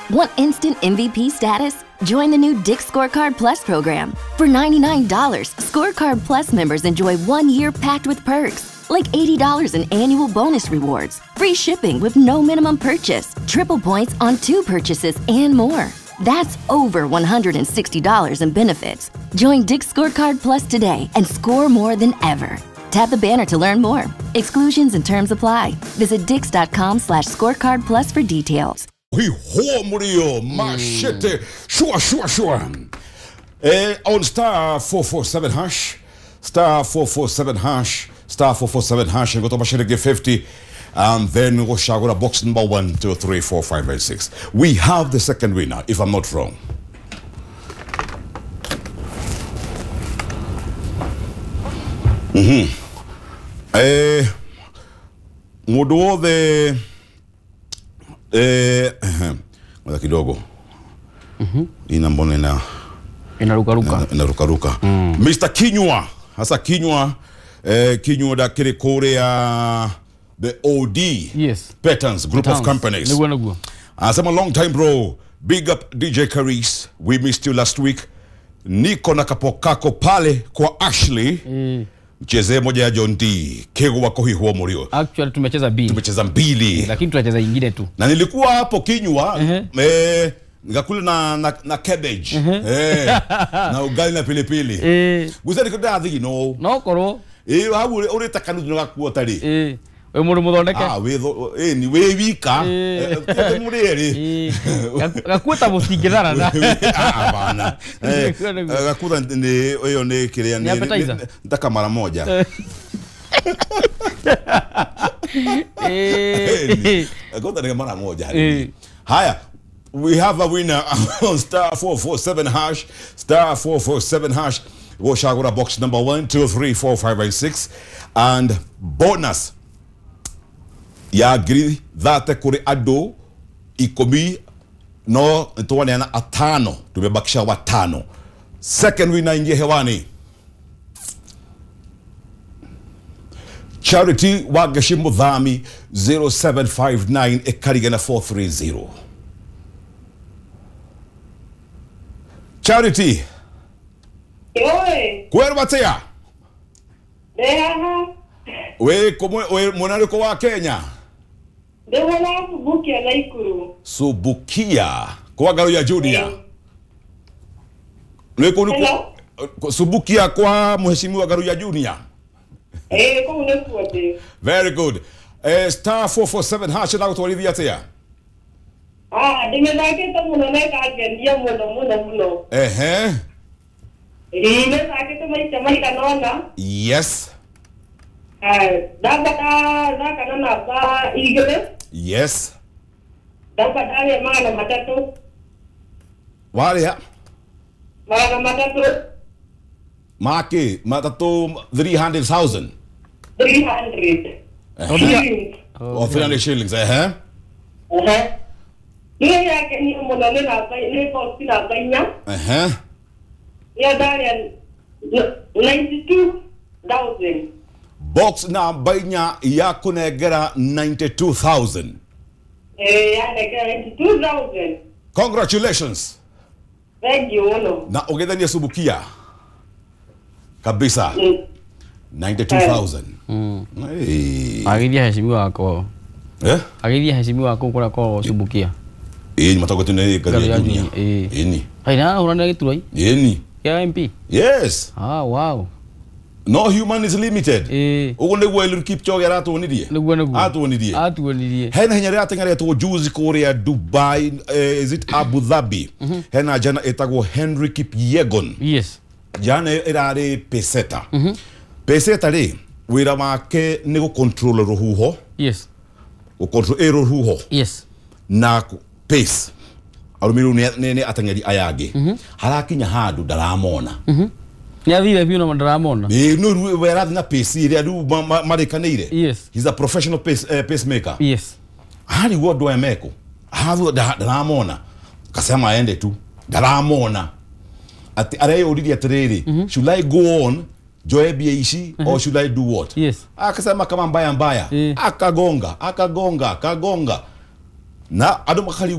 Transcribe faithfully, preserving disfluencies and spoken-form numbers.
Want instant M V P status? Join the new Dick's Scorecard Plus program. For ninety-nine dollars, Scorecard Plus members enjoy one year packed with perks, like eighty dollars in annual bonus rewards, free shipping with no minimum purchase, triple points on two purchases, and more. That's over one hundred sixty dollars in benefits. Join Dick's Scorecard Plus today and score more than ever. Tap the banner to learn more. Exclusions and terms apply. Visit dicks.com slash scorecard plus for details. Machete. Sure, sure, sure. Eh, on star four four seven hash, star four four seven hash, star four four seven hash, and go to Machete fifty, and then go Shagura box number one, two, three, four, five, and six. We have the second winner, if I'm not wrong. Mm-hmm. Eh, mudu the eh, ngoja kidogo. Mhm. Ina mbona ina inarukaruka. Inarukaruka. Mm. Mister Kinyua, hasa Kinyua, eh, Kinyua da Korea, the O D. Yes. Patterns Group Patterns of Companies. Niguo niguo. Asema long time bro. Big up D J Karis. We missed you last week. Niko na kapokako pale kwa Ashley. Mm. Mcheze moja ya John D. Kego wako hii huo murio. Actually tumecheza mbili. Tumecheza mbili. Lakini tunacheza nyingine tu. Na nilikuwa hapo Kinyua, uh -huh. eh, nikakula na, na, na cabbage. Uh -huh. Eh, na ugali na pilipili. Eh. Gusa niko ndathi no. No koro. Eh, hau uri takanu tunakuwa tari. Eh. We mundu muthondeke. Ah, we eh ni we wika. Eh, muri eri. Gakuta mutingithara na. Ah, bana. Eh, gakuta ni hiyo ni kiria ni nataka mara moja. Eh. Gakuta ni mara moja. Haya, we have a winner on star four four seven hash, star four four seven hash. Goshagura box number one, two, three, four, five, and six, and bonus ya ngiri thate kuri andu ikumi no nitwaneana atano, tumebakisha watano. Second winner ingie hewani, Charity Wagashi Muthami zero seven five nine ekarigana four three zero. Charity. Oi. Kwerwa tia? Ndehaha. We kumwe we mwanariko wa Kenya. Ndehona Subukia na Ikuru. Subukia kwa garo ya Junior. Leko nuko Subukia kwa mheshimiwa Garo ya Junior. Eh, kwa unekuwa. Very good. Eh, star four four seven hash na kutwalithia tia. Ah, ndimethakite muno na ikangenia muno muno muno. Ehe. Eh, ndimethakite maita maigana ona. Yes. Ndamba ndathaka na namba igĩrĩ. Yes. Ndamba ndarĩa magana matatũ. Warĩa? Magana matatũ. Maki, matatũ three hundred thousand. three hundred. Uh-huh. Oh, three hundred shillings, eh? Uh-huh. Nĩ yakenia mũno nĩ namba nĩ box namba inya. Uh-huh. Nĩ ndarĩa ninety-two thousand. Box namba inya ya kunegera ninety-two thousand. Eh, ya negera ninety-two thousand. Congratulations. Thank you muno. Na ugethania Subukia. Kabisa. Mm. ninety-two thousand. Mm. Hey. Agithia heshimiwa wako. Eh? Agithia heshimiwa wako kura kwa Subukia. Eh, ni matoko tena gari ya dunia. Eh. Ni. Haina urana giturai. Ni. Ya M P. Yes. Ah, wow. No human is limited. Eh. Ugo niguo Eliud Kipchoge aratuonirie. Niguo niguo. Atuonirie. Atuonirie. Hena hinya ria atengeretwo juzi kuria Dubai, eh, is it Abu Dhabi? Mm -hmm. Hena jana etagwo Henry Kipyegon. Yes. Jana irari peseta. Mm -hmm. Peseta ri wira wake ni gu control ruhuho. Yes. Gu control ruhuho. Yes. Na pace. Arumiru ni ni atengeri aya angi. Mm -hmm. Harakinya handu ndaramona. Mm -hmm. Nyathire biũ na ndaramona. Ni no we arathi na pace iria riu marikanire. Yes. He's a professional pace uh, pacemaker. Yes. Hari wo andu aya meko. Hathu ndaramona. Kasema aende tu. Ndaramona. Ati areyuririe atiriri, mm -hmm. should I go on joe bia ici mm -hmm. or should I do what? Yes. Akasema kama mbaya mbaya. Mm. Akagonga, akagonga, akagonga. Na andu makarigwo